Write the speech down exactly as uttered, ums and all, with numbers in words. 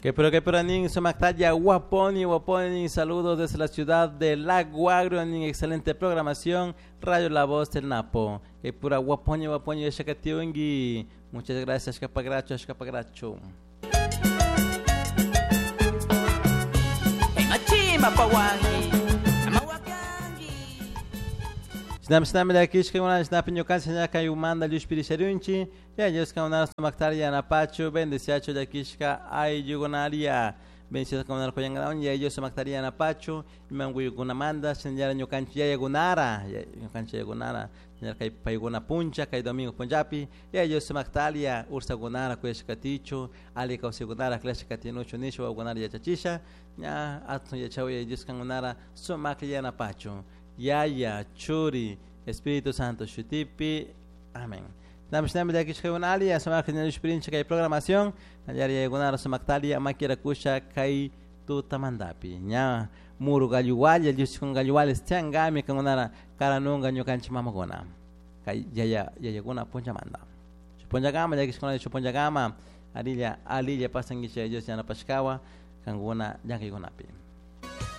Que pero que pero nin sumaktalla guaponi guaponi saludos desde la ciudad de Lago Agrio nin excelente programación Radio La Voz del Napo. Que pura guaponi guaponi shakatiungi. Muchas gracias capagracho capagracho. Shinami shinami llakishkakuna shinapi ñukanchik ñaka yumanda llushpirisharunchik ya Dios kankunara sumaktari yanapachu bendeciachu llakishka ayllukunaria bendecido kankunara kuyankawan ya Dios sumaktari yanapachu imankuykunamanta shinallara ñukanchik yayakunara ñukanchik yayakunara shinallara kay paykuna puncha kay domingo punchapi ya Dios sumaktaria ursakunara kuyashkatichu alli kawsaykunara aklashka katinuchu nisha wawakunara yachachisha ña atun yachaw ya Dios kankunara sumaklla yanapachu Yaya, Churi, Espíritu Santo, Shutipi. Amén. Nami llakishkakuna ali sumakta ñallushpirinchik kay programación nallara yayakunara sumaktaria makirakusha kay tutamantapi ña muru galluwalla llushikun galluwales tiyankami kankunara karanunka ñukanchik mamakuna kay yaya yayakuna punchamanta shuk punchakama llakishkuna shuk punchakama alilla alilla pasankichik Dios yanapashkawan kankuna llankaykunapi.